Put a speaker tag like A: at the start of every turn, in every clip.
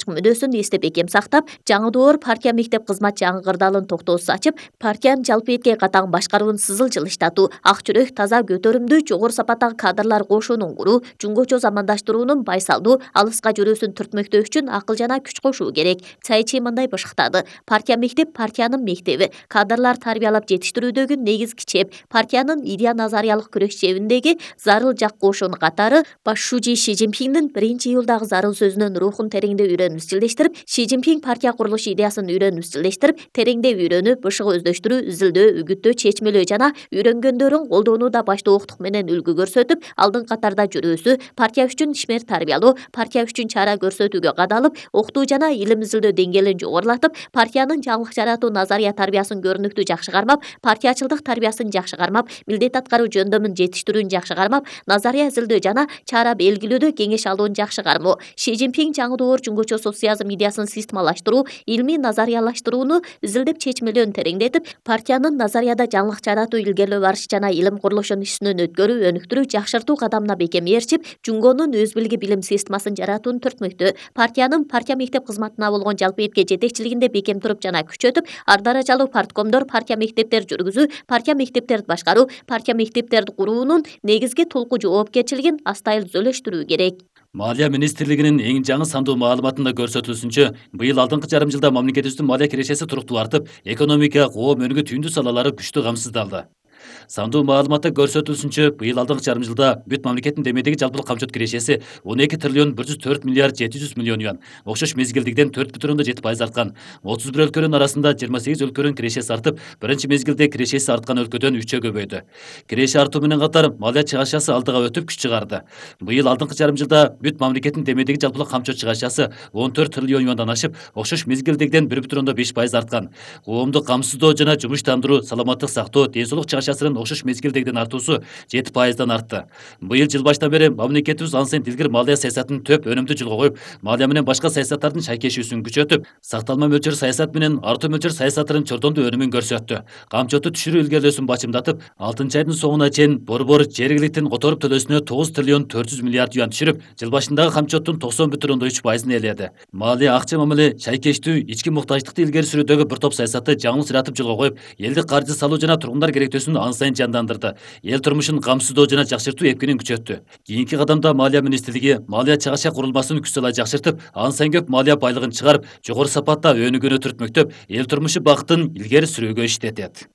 A: башкы мүнөсүн эстеп бекем сактап, жаңы доор партия мектеп кызмат жаңгырдалын токтоосуз ачып, партиянын жалпы этке катаң башкаруун сызыл жылыштатуу, ак жүрөк, таза, көтөрүмдүү, жогору сапаттагы кадрлар кошуунун куруу, жумгочо замандаштыруунун байсалдуу, алыска жүрүүсүн түртмөктөө үчүн акыл жана күч кошуу керек. Цайчи мындай бышыктады: партия мектеп партиянын мектеби, кадрлар тарбиялап жетиштирүүдөгү негизги чеп, партиянын идея назариялык күрөш чебиндеги зарыл жак кошун катары башчы Ши Цзиньпиндин 1-июлдагы зарыл сөзүнүн рухун тереңдеп үйрөнүп изчилдештирип, Ши Цзиньпин партия курулуш идеясын үйрөнүп изчилдештирип, тереңдеп үйрөнүп, бышыгы өздөштүрүү, изилдөө, үгүттөө, чечмелөө жана үйрөнгөндөрүн колдонууда баштоолуктук менен үлгү көрсөтүп, алдыңкы катарда жүрүүсү, партия үчүн ишмер тарбиялоо, партия үчүн чара көрсөтүүгө кадалып, окутуу жана илим изилдөө деңгээлин жогорулатып, партиянын жаңылык жаратуу назария тарбиясын көрүнүктүү жакшы кармап, партиячылдык тарбиясын жакшы кармап, милдет аткаруу жөндөмүн жетиштирүүнү жакшы кармап, назария изилдөө жана чара белгилөөдө кеңеш алууну жакшы кармоо. Ши Цзиньпин жаңы доор жумгочо социализм идеясын системалаштыруу, илмий назариялаштырууну изилдеп чечмелөөнү тереңдетип, партиянын назарияда жаңылык жаратуу, илгерилөө барыш жана илим курулушун ишинен өткөрүү, өнүктүрүү, жакшыртуу кадамына бекем ээрчип, Жунгонун өз билги билим системасын жаратууну түртмөктө, партиянын партия мектеп кызматына болгон жалпы этке жетекчилигинде бекем туруп жана күчөтүп, ар даражалуу парткомдор, партия мектептер жүргүзүү, партия мектептерди башкаруу, партия мектептерди куруунун негизги толку жоопкерчилигин астайыл түзөлөштүрүү керек.
B: Малия министрлигинин эң жаңы сандуу маалыматында көрсөтүлүшүнчө, быйыл алдыңкы жарым жылда мамлекетибиздин малия кирешеси туруктуу артып, экономика, коом өнүгүү түйүндүү салалары күчтүү камсыздалды. Сандуу маалыматта көрсөтүлүшүнчө, быйыл алдыңкы жарым жылда бүт мамлекеттин демедеги жалпылык камчылык кирешеси 12 триллион 104 миллиард 700 миллион юан, окшош мезгилдигиден 4,7% арткан. 31 өлкөнүн арасында 28 өлкөнүн кирешеси артып, биринчи мезгилде кирешеси арткан өлкөдөн 3-кө көбөйдү. Киреше артуу менен катар малия чыгашасы алдыга өтүп күч чыгарды. Быйыл алдыңкы жарым жылда бүт мамлекеттин демедеги жалпылык камчы чыгашасы 14 триллион юандан ашып, окшош мезгилдигиден 1,5% арткан. Коомду камсыздоо жана жумуштандыруу, саламаттык сактоо, ден соолук чыгашасынын окшош мезгилдегиден артуусу 7%дан артты. Быйыл жыл башынан бери мамлекетибиз ансайын тилгир малия саясатын төп өнүмдүү жылга коюп, малия менен башка саясаттардын шайкешүүсүн күчөтүп, сакталма мөлчөр саясат менен артуу мөлчөр саясатынын чордондуу өнүмүн көрсөттү. Камчоту түшүрүү илгерилөөсүн бачымдатып, 6-айдын соңуна чейин борбор жергиликтин которуп төлөөсүнө 9 триллион 400 миллиард юан түшүрүп, жыл башындагы камчоттун 90,3%ын ээледи. Малия акча мамиле, шайкештүү, ички муктаждыкты илгери сүрүүдөгү бир топ саясатты жаңылышыратып жылга коюп, элди каржы салуу жана тургундар керектөөсүн ансайын жандандырды. Эл турмушун камсыздоо жана жакшыртуу эпкинин күчөттү. Кийинки кадамда малия министрлиги малия чыгаша курулмасын күч салай жакшыртып, ансайын көп малия байлыгын чыгарып, жогору сапатта өнүгүүнү түртмөктөп, эл турмушу бактын илгери сүрүүгө иштетет.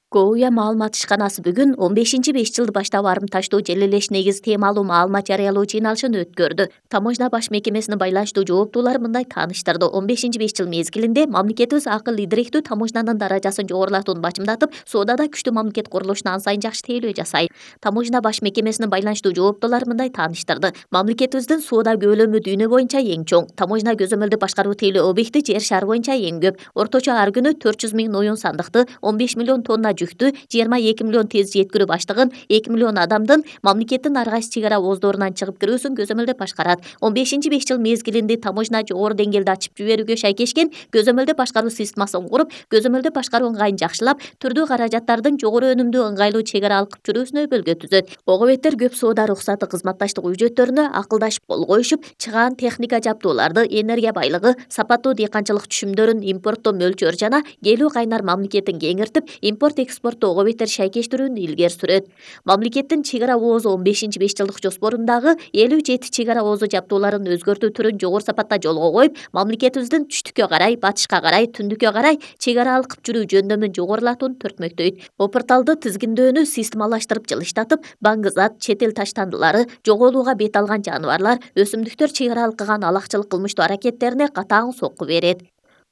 A: КОУЯ маалымат ишканасы бүгүн 15-5 жылды баштап арымташтуу желелеш негиз темалуу маалымат жарыялоо жыйналышын өткөрдү. Таможня баш мекемесинин байланыштуу жооптуулары мындай тааныштырды. 15-5 жыл мезгилинде мамлекетибиз акыл идиректүү таможнянын даражасын жогорулатууну бачымдатып, соодада күчтүү мамлекет курулушуна ансайын жакшы тейлөө жасайт. Таможня баш мекемесинин байланыштуу жооптуулары мындай тааныштырды. Мамлекетибиздин соода көлөмү дүйнө боюнча эң чоң. Таможня көзөмөлдү башкаруу тейлөө объекти жер шары боюнча эң көп. Орточо ар күнү 400 000 оюн сандыкты, 15 миллион тонна жүктү, 22 миллион тез жеткирүү баштыгын, 2 миллион адамдын мамлекеттин ар кайсы чек ара ооздорунан чыгып кирүүсүн көзөмөлдөп башкарат. 15-5 жыл мезгилинде таможня жогору деңгээлде ачып жиберүүгө шайкешкен көзөмөлдөп башкаруу системасын куруп, көзөмөлдөп башкаруу ыңгайын жакшылап, түрдүү каражаттардын жогору өнүмдүү ыңгайлуу чек ара алкып жүрүүсүнө өбөлгө түзөт. Ого беттер көп соода уруксаты кызматташтык үчөттөрүнө акылдашып кол коюшуп, чыгаан техника жабдууларды, энергия байлыгы, сапаттуу дыйканчылык түшүмдөрүн импорттоо мөлчөр жана келүү кайнар мамлекетин кеңиртип, импорт-экспортту ого беттер шайкештирүүнү илгери сүрөт. Мамлекеттин чек ара оозу 15-5 жылдык жоспорундагы 57 чек ара оозу жабдууларын өзгөртүү түрүн жогору сапатта жолго коюп, мамлекетибиздин түштүккө карай, батышка карай, түндүккө карай чек ара алкып жүрүү жөндөмүн жогорулатууну түртмөктөйт. Опорталды тизгиндөөнү системалаштырып жылыштатып, баңгызат, чет эл таштандылары, жоголууга бет алган жаныбарлар, өсүмдүктөр чек ара алкыган алакчылык кылмыштуу аракеттерине катаң сокку берет.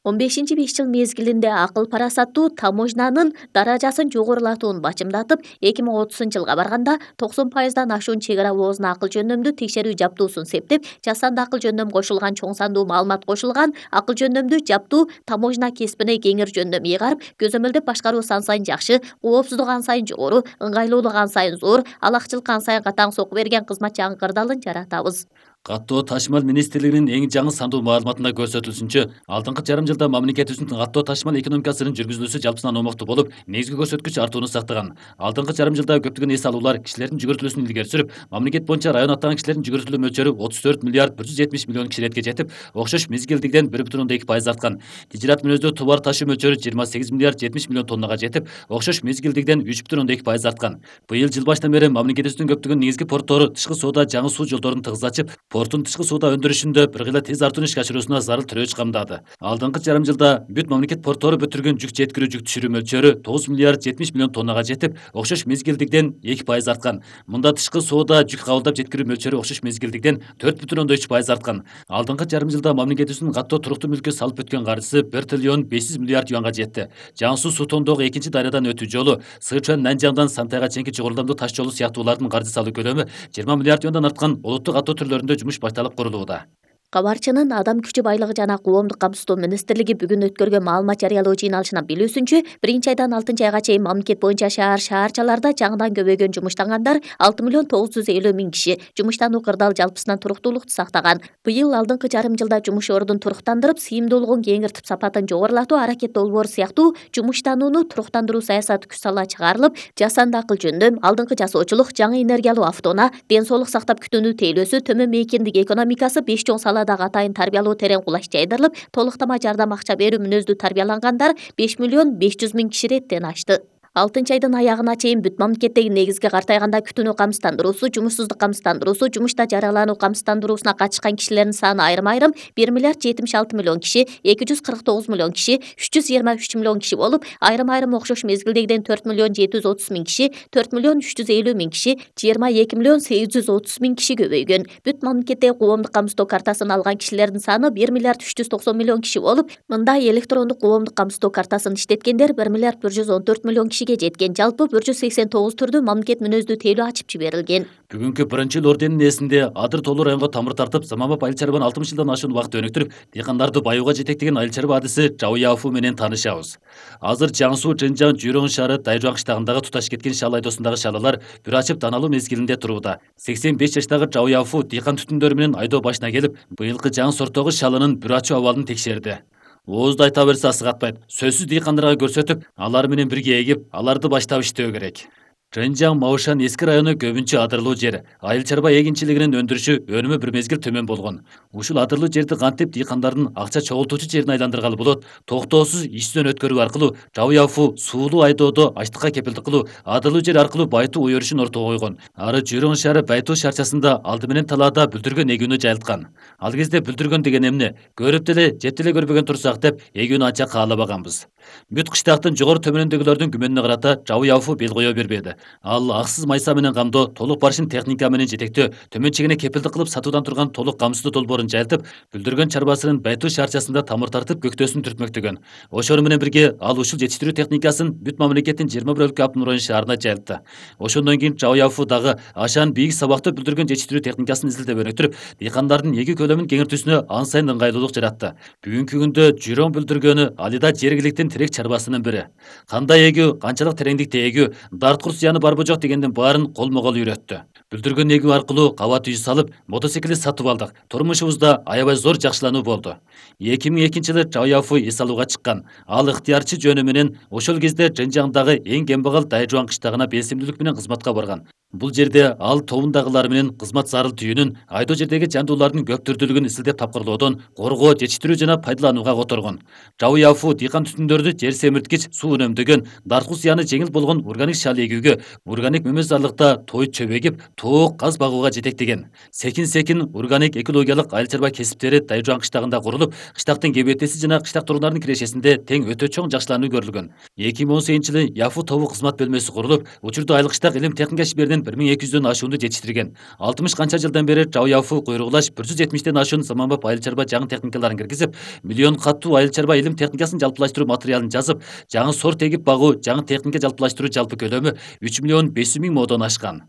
A: 15-5 жыл мезгилинде акыл парасаттуу таможнянын даражасын жогорулатууну бачымдатып, 2030-жылга барганда 90%дан ашуун чек ара оозуна акыл жөндөмдүү текшерүү жабдуусун септеп, жасанды акыл жөндөм кошулган чоң сандуу маалымат кошулган акыл жөндөмдүү жабдуу таможня кесибине кеңир жөндөм ыйгарып, көзөмөлдөп башкаруусу ансайын жакшы, коопсуздук ансайын жогору, ыңгайлуулук ансайын зор, алакчылыкка ансайын катаң сокку берген кызмат жаңгырдалын жаратабыз.
B: Каттоо ташмал министрлигинин эң жаңы сандуу маалыматында көрсөтүлүшүнчө, алдыңкы жарым жылда мамлекетибиздин каттоо ташмал экономикасынын жүргүзүлүүсү жалпысынан омоктуу болуп, негизги көрсөткүч артууну сактаган. Алдыңкы жарым жылда көптөгөн эс алуулар кишилердин жүгүртүлүүсүн илгери сүрүп, мамлекет боюнча район аттаган кишилердин жүгүртүлүү мөлчөрү 34 миллиард 170 миллион киширетке жетип, окшош мезгилдигиден 1,2% арткан. Тижират мүнөздүү товар ташуу мөлчөрү 28 миллиард 70 миллион тоннага жетип, окшош мезгилдигиден 3,2% арткан. Быйыл жыл башынан бери мамлекетибиздин көптөгөн негизги порттору тышкы соода жаңы суу жолдорун тыгыз ачып, порттун тышкы соода өндүрүшүндө бир кыйла тез артууну ишке ашыруусуна зарыл төрөч камдады. Алдыңкы жарым жылда бүт мамлекет порттору бүтүргөн жүк жеткирүү жүк түшүрүү мөлчөрү 9 миллиард 70 миллион тоннага жетип, окшош мезгилдигиден 2% арткан. Мында тышкы соода жүк кабылдап жеткирүү мөлчөрү окшош мезгилдигиден 4,3% арткан. Алдыңкы жарым жылда мамлекетибиздин каттоо туруктуу мүлккө салып өткөн каржысы 1 триллион 500 миллиард юанга жетти. Жаңы суу Сутондогу экинчи дарыядан өтүү жолу, Сычуан Нанжаңдан Сантайга чейинки чогулдамдуу таш жолу сыяктуулардын каржы салуу көлөмү 20 миллиард юандан арткан олуттук каттоо түрлөрүндө жумуш башталып курулууда.
A: Кабарчынын Адам күчү байлыгы жана коомдук камсыздоо министрлиги бүгүн өткөргөн маалымат жарыялоо жыйналышынан билүүсүнчө, 1-айдан 6-айга чейин мамлекет боюнча шаарчаларда жаңыдан көбөйгөн жумуштангандар 6 миллион 950 миң киши жумуштануу кырдаал жалпысынан туруктуулукту сактаган. Быйыл алдыңкы жарым жылда жумуш ордун туруктандырып, сыйымдуулугун кеңиртип, сапатын жогорулатуу аракет долбоору сыяктуу жумуштанууну туруктандыруу саясаты күч сала чыгарылып, жасанды акыл жөндөм, алдыңкы жасоочулук, жаңы энергиялуу автоунаа, ден соолук сактап күтүүнү тейлөөсү, төмөн мейкиндик экономикасы 5 чоң саладагы атайын тарбиялоо терең кулач жайдырылып, толуктама жардам акча берүү мүнөздүү тарбиялангандар 5 миллион 500 миң киши реттен ашты. 6-айдын аягына чейин бүт мамлекеттеги негизги картайганда күтүүнү камсыздандыруусу, жумушсуздук камсыздандыруусу, жумушта жаралануу камсыздандыруусуна катышкан кишилердин саны айрым-айрым 1 миллиард 76 миллион киши, 249 миллион киши, 323 миллион киши болуп, айрым-айрым окшош мезгилдегиден 4 миллион 730 миң киши, 4 миллион 350 миң киши, 22 миллион 830 миң киши көбөйгөн. Бүт мамлекеттеги коомдук камсыздоо картасын алган кишилердин саны 1 миллиард 390 миллион киши болуп, мында электрондук коомдук камсыздоо картасын иштеткендер 1 миллиард 114 миллион киши жеткен. Жалпы 189 түрдүү мамлекет мүнөздүү тейлөө ачып жиберилген.
B: Бүгүнкү 1-ыл орденин эсинде Адыр Тоолу районго тамыр тартып, заманбап айыл чарбаны 60 жылдан ашуун убакыт өнүктүрүп, дыйкандарды баюуга жетектеген айыл чарба адиси Жабы Яфу менен таанышабыз. Азыр Жаңы Суу, Жынжаң, Жүйрөң шаары, Дайжуан кыштагындагы туташ кеткен шал айдоосундагы шалалар бүр ачып таналуу мезгилинде турууда. 85 жаштагы Жабы Яфу дыйкан түтүндөрү менен айдоо башына келип, быйылкы жаңы сорттогу шалынын бүр ачуу абалын текшерди. Оозду айта берсе асыгатпайт. Сөзсүз дыйкандарга көрсөтүп, алар менен бирге эгип, аларды баштап иштөө керек. Жынжаң, Маушан эски району көбүнчө адырлуу жер. Айыл чарба эгинчилигинин өндүрүшү өнүмү бир мезгил төмөн болгон. Ушул адырлуу жерди кантип дыйкандардын акча чогултуучу жерине айландыргалы болот? Токтоосуз иштен өткөрүү аркылуу Жабы Яфу суулуу айдоодо ачлыкка кепилдик кылуу, адырлуу жер аркылуу байтуу өйрүшүн ортого койгон. Ары Жүйрөң шаары Байтуу шарчасында алды менен талаада бүлдүргөн эгүүнү жайылткан. Ал кезде бүлдүргөн деген эмне? Көрүп деле, жеп деле көрбөгөн турсак деп эгүүнү анча каалабаганбыз. Бүт кыштактын жогору төмөнүндөгүлөрдүн күмөнүнө карата Жабы Яфу бел кое бербеди. Ал аксыз майса менен камдоо, толук барышын техника менен жетектөө, төмөн чегине кепилдик кылып сатуудан турган толук камсыздоо долбоорун жайылтып, бүлдүргөн чарбасынын Байтуу шаарчасында тамыр тартып көктөөсүн түртмөктөгөн. Ошону менен бирге ал ушул жетиштирүү техникасын бүт мамлекеттин 21 өлкө автономдук район шаарына жайылтты. Ошондон кийин Жабы Яфу дагы ашаан бийик сабактуу бүлдүргөн жетиштирүү техникасын изилдеп өнүктүрүп, дыйкандардын эгүү көлөмүн кеңиртүүсүнө ан сайын ыңгайлуулук жаратты. Бүгүнкү күндө Жүйрөң бүлдүргөнү алида жергиликтин тирек чарбасынын бири. Кандай эгүү, канчалык тереңдикте эгүү, дарткур зыяны барбы жок дегендин баарын колмо-кол үйрөттү. Бүлдүргөн эгүү аркылуу кабат үй салып, мотоциклди сатып алдык. Турмушубузда аябай зор жакшылануу болду. 2002-жылы Жабы Яфу эс алууга чыккан. Ал ыктыярчы жөнү менен ошол кезде Жынжаңдагы эң кембагал Дайжуан кыштагына белсимдүүлүк менен кызматка барган. Бул жерде ал тобундагылар менен кызмат зарыл түйүнүн, айдоо жердеги жандуулардын көп түрдүүлүгүн изилдеп тапкырлоодон, коргоо, жетиштирүү жана пайдаланууга которгон. Жабы Яфу дыйкан түтүндөрдү жер семирткич, суу үнөмдөгөн, дарткул зыяны жеңил болгон органик шал эгүүгө, органик мөмөзарлыкта той чөбөгүп, тоок, каз багууга жетектеген. Секин органик экологиялык айыл чарба кесиптери Дайжуан кыштагында курулуп, кыштактын кебетеси жана кыштак тургундардын кирешесинде тең өтө чоң жакшылануу көрүлгөн. 2018-жылы Яфу тобу кызмат бөлмөсү курулуп, учурда айыл кыштак илим техника шеберинин 1200дөн ашуунду жетиштирген. 60 канча жылдан бери Жабы Яфу куйругулаш 170ден ашуун заманбап айыл чарба жаңы техникаларын киргизип, миллион каттуу айыл чарба илим техникасын жалпылаштыруу материалын жазып, жаңы сорт эгип багуу, жаңы техника жалпылаштыруу жалпы көлөмү 3 миллион 500 миң модон ашкан.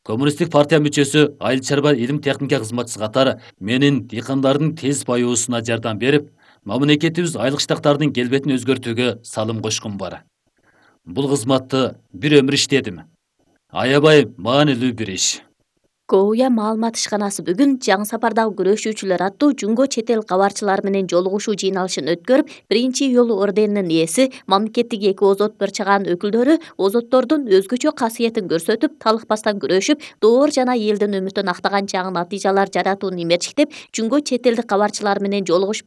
B: Коммунисттик партия мүчөсү, айыл чарба илим техника кызматчысы катары менин дыйкандардын тез баюусуна жардам берип, мамлекетибиз айыл кыштактардын келбетин өзгөртүүгө салым кошкум бар. Бул кызматты бир өмүр иштедим. Аябай маанилүү бир иш.
A: Коуя маалымат ишканасы бүгүн жаңы сапардагы күрөшүүчүлөр аттуу жунго чет эл кабарчылары менен жолугушуу жыйналышын өткөрүп, биринчи үй орденинин ээси, мамлекеттик эки озот бир чыгаан өкүлдөрү озоттордун өзгөчө касиетин көрсөтүп, талыкпастан күрөшүп, доор жана элдин үмүтүн актаган жаңы натыйжалар жаратууну имерчиктеп, жунго чет элдик кабарчылар менен жолугуш